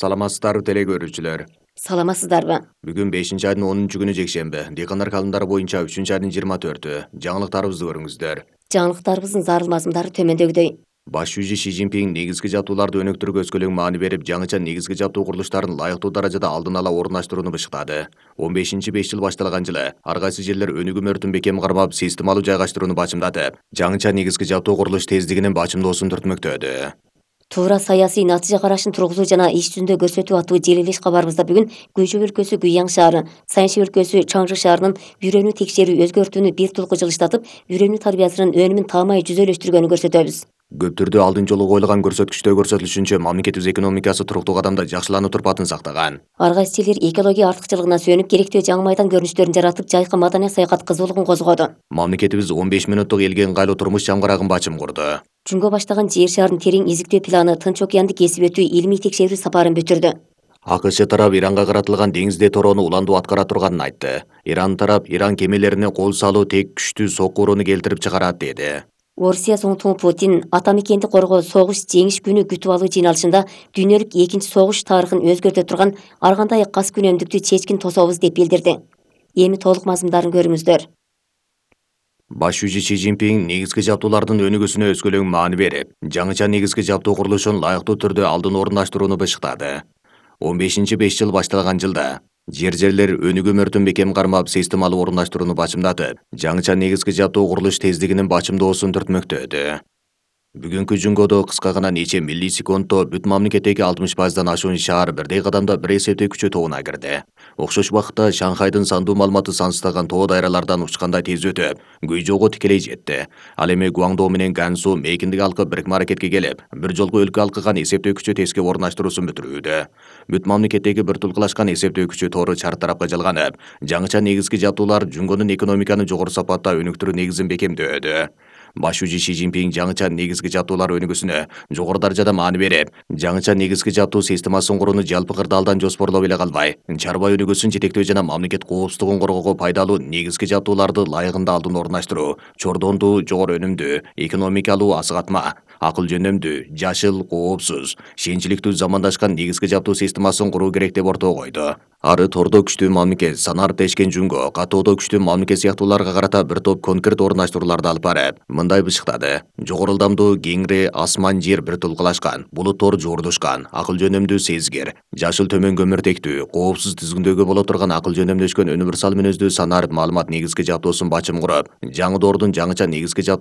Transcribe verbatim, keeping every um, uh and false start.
Саламатсыздарбы теле көрүүчүлөр. Саламатсыздарбы? Бүгүн бешинчи айдын онунчу күнү жекшемби. Дыйкандар календары боюнча үчүнчү айдын жыйырма төртү. Жаңылыктарыбызды көрүңүздөр. Жаңылыктарыбыздын зарыл мазмундары төмөндөгүдөй. Баш шүүжү Си Цзиньпин негизги жабдууларды өнүктүрүүгө өскөлөң маани берип, жаңыча негизги жабдуу курулуштарын лайыктуу даражада алдын ала орундаштырууну бышыктады. он бешинчи беш жыл башталган жылы ар кайсы жерлер өнүгүү мөрдүн бекем кармап, системалуу жайгаштырууну бачымдатып, жаңыча негизги жабдуу курулуш тездигинин бачымдоосун түртмөктөдү. Туура саясий натыйжа карашын тургузуу жана иш жүзүндө көрсөтүү аттуу желилеш кабарыбызда бүгүн Гүйчө өлкөсү Гүйяң шаары, Сайынши өлкөсү Чаңжы шаарынын үйрөнүү текшерүү өзгөртүүнү бир тулку жылыштатып, үйрөнүү тарбиясынын өнүмүн таамай жүзөлөштүргөнүн көрсөтөбүз. Көптөрдү алдын жолу коюлган көрсөткүчтө көрсөтүлүшүнчө, мамлекетибиз экономикасы туруктуу кадамда жакшылануу турпатын сактаган. Ар кайсы жерлер экология артыкчылыгына сүйөнүп, керектүү жаңы майдан көрүнүштөрүн жаратып, жайкы маданий саякат кызуулугун козгоду. Мамлекетибиз он беш минуттук элге ыңгайлуу турмуш жамгарагын бачым курду. Жөнгө баштаган жер шаарын терең изиктөө планы Тынч океанды кесип өтүү илмий текшерүү сапарын бүтүрдү. АКШ тарап Иранга каратылган деңизде torоону уландуу аткара турганын айтты. Иран тарап Иран кемелерине кол салуу тек күчтүү сокурууну келтирип чыгарат деди. Орусия соңтугу Путин ата мекенди коргоо согуш жеңиш күнү күтүп алуу жыйналышында дүйнөлүк экинчи согуш тарыхын өзгөртө турган ар кандай кас күнөмдүктү чечкин тособуз деп билдирди. Эми толук мазмундарын көрүңүздөр. Баш шүүжү Си Цзиньпин негизги жабдуулардын өнүгүүсүнө өскөлөң маани берип, жаңыча негизги жабдуу курулушун лайыктуу түрдө алдын орундаштырууну бышыктады. он бешинчи беш жыл башталган жылда жер жерлер өнүгүү мөрдүн бекем кармап, системалуу орундаштырууну бачымдатып, жаңыча негизги жабдуу курулуш тездигинин бачымдоосун түртмөктөдү. Бүгүнкү жөнгөдө кыска гана нече милли секундто бүт мамлекеттеги алтымыш пайыздан ашуун шаар бирдей кадамда бир эсептөө күчү тобуна кирди. Окшош убакытта Шанхайдын сандуу маалыматы сансыздаган тоо дайралардан учкандай тез өтүп, Гүйжоого тикелей жетти. Ал эми Гуаңдоо менен Гансу мейкиндик алкып бирикме аракетке келип, бир жолку өлкө алкыган эсептөө күчү теске орундаштыруусун бүтүрүүдө. Бүт мамлекеттеги бир тулкулашкан эсептөө күчү тоору чар тарапка жалганып, жаңыча негизги жабдуулар жөнгөнүн экономиканы жогору сапатта өнүктүрүү негизин бекемдөөдү. Баш шүүжү Си Цзиньпин жаңыча негизги жабдуулар өнүгүүсүнө жогору даражада маани берип, жаңыча негизги жабдуу системасын курууну жалпы кырдаалдан жоспорлоп эле калбай, чарба өнүгүүсүн жетектөө жана мамлекет коопсуздугун коргоого пайдалуу негизги жабдууларды лайыгында алдын орундаштыруу, чордондуу, жогору өнүмдүү, экономикалуу асыгатма, акыл жөнөмдүү, жашыл, коопсуз, шенчиликтүү замандашкан негизги жабдуу системасын куруу керек деп ортого койду. Ары тордо күчтүү мамлекет, санар тешкен жүнгө, катоодо күчтүү мамлекет сыяктууларга карата бир топ конкрет орундаштырууларды алып барып, мындай бышыктады. Жогору ылдамдуу, кеңири асман жер бир тулкулашкан, булуттор жуурдушкан, акыл жөнөмдүү сезгир, жашыл төмөн көмүртектүү, коопсуз тизгиндөөгө боло турган акыл жөнөмдөшкөн универсал мүнөздүү санар маалымат негизги жабдуусун бачым куруп, жаңы доордун жаңыча негизги жабдуу